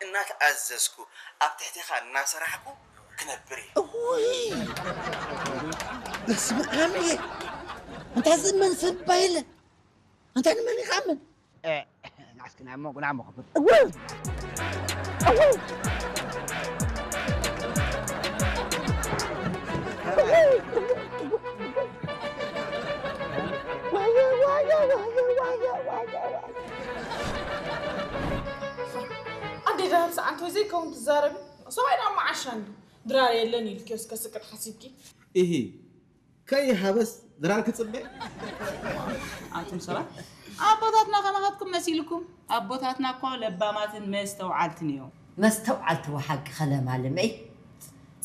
እናተኣዘዝኩ ኣብ ትሕቴኻ እናሰራሕኩ ክነብር እየ። እውይ! በስመ ኣብ እየ። እንታይ ዝእመን ሰብ እባ የለ። እንታይ ንመን ይኽኣምን? እ፣ ንዓስኪ ናይ እሞ ጉና እሞ ክብል። እውይ! እውይ! ኣዴ ደሃብ ሰዓንቶ ዘይከውን ትዛረቢ። ሰብኣይ ደኣ መዓሻ እንዲ ድራር የለን ኢልኪ እስከ ስቅጥ ሓሲብኪ። ኢሂ፣ ከይሃበስ ድራር ክጽበ? ኣንቱም ሰባት ኣቦታትና ከማኻትኩም መሲልኩም። ኣቦታትና እኮ ለባማትን መስተውዓልትን እዮም። መስተውዓልቲ ወሓቂ ከለማልመይ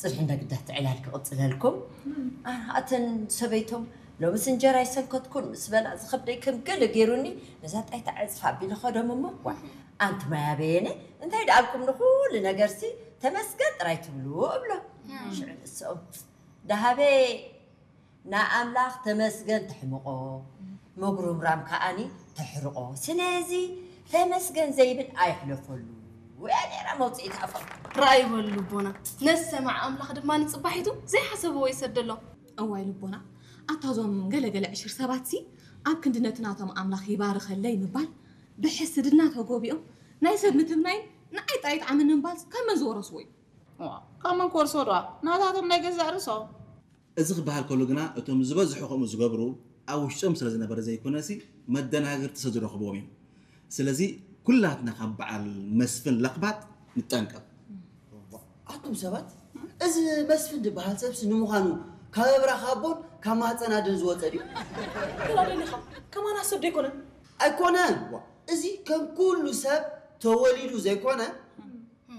ጽብሒ እንደ ግዳት ዕላል ክቕጽለልኩም። ኣተን ሰበይቶም ሎምስ እንጀራ ይሰንከትኩን ምስ በላ ዝኸብደይ ከም ገለ ገይሩኒ ነዛ ጣይታ ዕጽፍ ኣቢለ ኸዶም እሞ ዋ ኣንቲ ማያ በየነ እንታይ ደኣልኩም ንኹሉ ነገርሲ ተመስገን ጥራይ ትብሉ እብሎ። ሽዑ ንስኦም ደሃበ ንኣምላኽ ተመስገን ተሕምቖ፣ ምጉርምራም ከኣኒ ተሕርቖ። ስለዚ ተመስገን ዘይብል ኣይሕለፈሉ እያ ነይራ መውፅኢት ኣፎም። ራእይ በሉ ልቦና፣ ነሰማዕ ኣምላኽ ድማ ንጽባሒቱ ዘይሓሰብዎ ይሰደሎም። እዋይ ልቦና፣ ኣታ እዞም ገለገለ ዕሽር ሰባትሲ ኣብ ክንዲ ነቲ ናቶም ኣምላኽ ይባርኸለይ ምባል ብሕስድና ተጎቢኦም ናይ ሰብ ምትምናይን ንዓይ ጥራይ ይጥዓመኒ ምባል ካብ መን ዝወረስዎ እዩ? ካብ መን ክወርሶ ዶ ናታቶም ናይ ገዛእ ርእሶም። እዚ ክበሃል ከሎ ግና እቶም ዝበዝሑ ከምኡ ዝገብሩ ኣብ ውሽጦም ስለ ዝነበረ ዘይኮነሲ መደናገርቲ ስለ ዝረኽብዎም እዮም። ስለዚ ኩላትና ካብ በዓል መስፍን ለኽባጥ ንጠንቀቕ። ኣቱም ሰባት እዚ መስፍን ዝበሃል ሰብሲ ንምዃኑ ካብ ኣብራኽ ኣቦን ካብ ማህፀን ኣደን ዝወፀ ድዩ? ገላደሊኻ ከማና ሰብ ደይኮነ ኣይኮነን። እዚ ከም ኩሉ ሰብ ተወሊዱ ዘይኮነ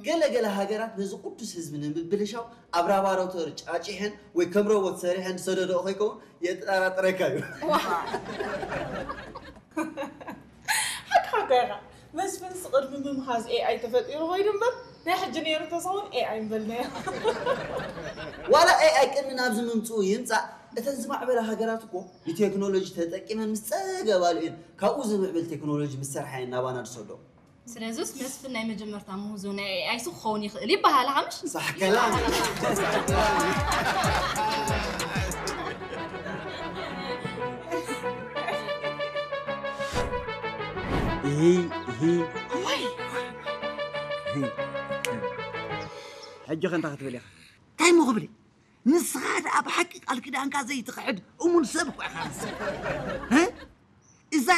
ገለ ገለ ሃገራት ነዚ ቅዱስ ህዝቢ ንምብልሻው ኣብ ላቦራቶሪ ጫጪሐን ወይ ከም ሮቦት ሰሪሐን ዝሰደድኦ ከይከውን የጠራጥረካ እዩ። ሓቂ ሓቂ ኢኻ መስፍንስ ቅድሚ ምምሃዝ ኤኣይ ተፈጢሩ ኮይኑ እምበር ናይ ሕጂ ነይሩ ተዝኸውን ኤኣይ ምበልናዮ። ዋላ ኤኣይ ቅድሚ ናብዚ ምምፅኡ ይምፃእ እተን ዝማዕበላ ሃገራት እኮ ብቴክኖሎጂ ተጠቂመን ምስ ፀገባሉ እየን ካብኡ ዝምዕብል ቴክኖሎጂ ምስ ሰርሓ እየን ናባና ዝሰደኦ። ስለዝስ መስፍን ናይ መጀመርታ ምህዞ ናይ ኤኣይ ሱ ክኸውን ይኽእል ይበሃል። ሓምሽ ሳሕከላ እሂ እሂ እሂ። ሕጂ ከ እንታይ ክትብል ኢኻ? እንታይ እሞ ክብል እየ? ንስኻ ደኣ ብሓቂ ቃል ኪዳንካ ዘይትኽሕድ እሙን ሰብ እኳ ኢኻ ንስኻ። እ? እዛ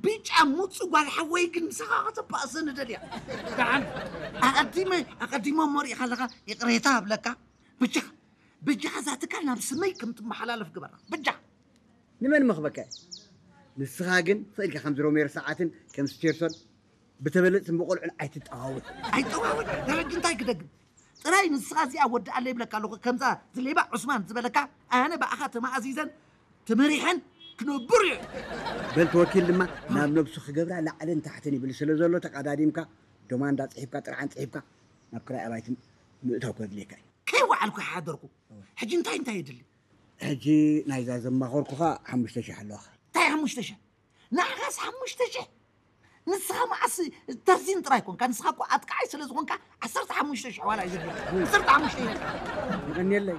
ብጫ ሙጹ ጓል ሓወይ ግን ምሳኻ ከተባእሰኒ ደልያ። ደሓን ኣቐዲመ ኣቐዲመ እሞ ሪኢኻ ኣለኻ ይቕሬታ እብለካ። ብጃኻ ብጃኻ እዛ ትካል ናብ ስመይ ከም ትመሓላለፍ ግበራ። ብጃኻ። ንመን ምኽበካ እየ? ንስኻ ግን ስቕ ኢልካ ከምዚ ሮሜር ሰዓትን ከም ስቴርሶን ብተበለጽትን ብቖልዑን ኣይትጠዋወል። ኣይጠዋወል ደረጅ እንታይ ክደግም? ጥራይ ንስኻ እዚኣ ወድኣለ ይብለካ ኣለኹ ከምዛ ዝሌባ ዑስማን ዝበለካ ኣነ ብኣኻ ተማእዚዘን ተመሪሐን ክነብር እየ። በል ተወኪል ድማ ናብ ነብሱ ክገብራ ላዕልን ታሕትን ይብል ስለ ዘሎ ተቓዳዲምካ ዶማንዳ ጽሒፍካ ጥርዓን ጽሒፍካ ናብ ክራይ ኣባይቲ ምእታው ከድልየካ እዩ። ከይወዓልኩ ሓደርኩ። ሕጂ እንታይ እንታይ የድሊ? ሕጂ ናይዛ ዘማኸርኩኻ ሓሙሽተ ሽሕ ኣለዋኻ። እንታይ ሓሙሽተ ሽሕ? ንዓኻስ ሓሙሽተ ሽሕ? ንስኻ መዓስ ተርዚን ጥራይ ኮንካ ንስኻ እኮ ኣጥቃዓይ ስለ ዝኾንካ ዓሰርተ ሓሙሽተ ሽሕ ዋላ እዩ ዘድልየካ ዓሰርተ ሓሙሽተ ሽሕ። የቐንየለይ።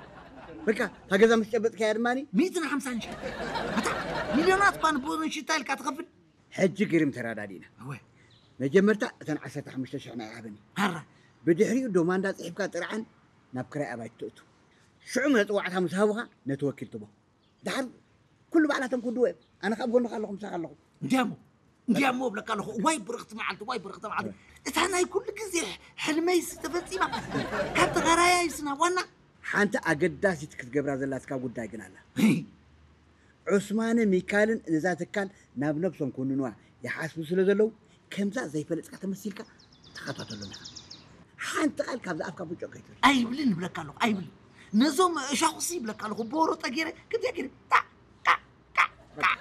በቃ እታ ገዛ ምስ ጨበጥካያ ድማ ሚእትን ሓምሳን ሽሕ። ኣታ ሚልዮናት እኳ ንቦኖን ሽታ ኢልካ ትኸፍል። ሕጂ ግርም ተረዳዲእና። እወ። መጀመርታ እተን ዓሰርተ ሓሙሽተ ሽሕ ናይ ሃበኒ። ሃራ። ብድሕሪኡ ዶማንዳ ጽሒፍካ ጥርዓን ናብ ክራይ ኣባይቲ ተእቱ። ሽዑ መጽዋዕታ ምስ ሃቡኻ ነቲ ወኪል ትቦ። ደሓር ኩሉ ባዕላቶም ክውድዎ እዮም። ኣነ ካብ ጎንኻ ኣለኹ ምሳኻ ኣለኹ። እንዲያሞ እንዲያሞ እብለካ ኣለኹ እዋይ ብርኽቲ መዓልቲ እዋይ ብርኽቲ መዓልቲ እታ ናይ ኩሉ ግዜ ሕልመይስ ተፈፂማ ካብ ተጋራያይስ ናብ ዋና ሓንቲ ኣገዳሲት ክትገብራ ዘላትካ ጉዳይ ግን ኣላ። ዑስማነ ሚካልን ነዛ ትካል ናብ ነብሶም ክውንንዋ ይሓስቡ ስለ ዘለዉ ከምዛ ዘይፈለጥካ ተመሲልካ ተኸታተሎም ኢኻ። ሓንቲ ቃል ካብዛ ኣፍካ ብጮ ከይትብል። ኣይብልን እብለካ ኣለኹ ኣይብልን። ነዞም እሻኹሲ ይብለካ ኣለኹ ብወሮጠ ገይረ ክብዚኣ ገይረ ጣዕ ጣዕ ጣዕ ጣዕ።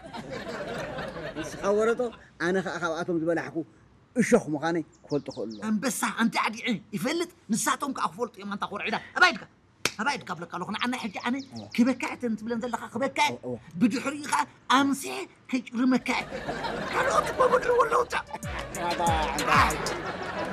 ንስኻ ወረጦ ኣነ ኸኣ ካብኣቶም ዝበላሕኩ እሾኽ ምዃነይ ክፈልጡ ክእሉ ኣለዎም። ኣንበሳ ኣንቲ ኣዲዒ ይፈልጥ ንሳቶም ከኣ ክፈልጡ እዮም ኣንታ ኮርዒዳ ኣባይ ድካ ኣባይ ድካ ብለካ ኣለኹ ንዓና ሕጂ ኣነ ክበካ እተን ትብለን ዘለኻ ክበካ እወ። ብድሕሪኡ ከኣ ኣምሲሐ ከይጭርመካ እየ ካልኦት እኮ ምድሪ ወለውታ